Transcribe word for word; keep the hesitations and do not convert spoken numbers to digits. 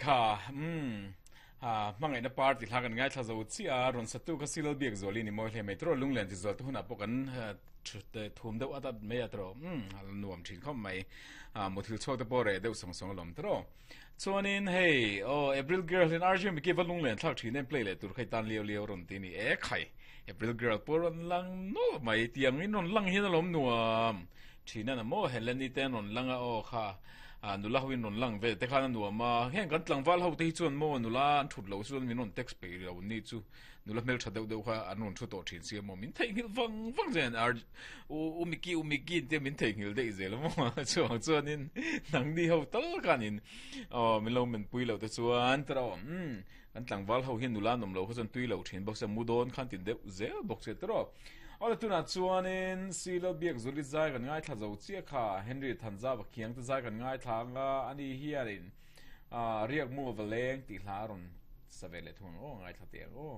Kha um ha mangai na party hla kan ngai thla zo chi a ron satu ka silal biak zoli ni moi hle mai tro lunglen ti zol tu huna pawh kan te thum deuh atat mai a tro um nuam thin khom mai a muthil chhuak te pawh re deuh song song lom tro chuanin hei o April Girl in R G mi ki va lunglen thlak thin em play le tur khai tan liao liao ron ti ni e khai April Girl pawh ron lang no mai tiang in ron lang hian alom nuam thina na mo Heleni ten ron langa o kha a nula hoin ron lang ve te khan nuam a heng kan tlangwal ho te hi chuan mo nula an thut lo chuan min ron text pe lo ni chu nula hmel tha deuh deuh kha an ron thu to thin sia mo min thei ngil wang wang zen ar u u miki u miki te min thei ngil dei zel mo chuang chuan in nang ni ho tal kanin o min lo men pui lo te chuan tro um kan tlangwal ho hian nula nom lo kha chuan tui lo thin bawk se mu dawn khan tin deuh zel bawk se tro Ola tuna chuanin silo biak zuli zai kan ngai thla zo chia kha Henry Thanza wa khiang te zai kan ngai thla nga ani hianin a riak mu valeng ti hla ron savele thung o ngai thla te o.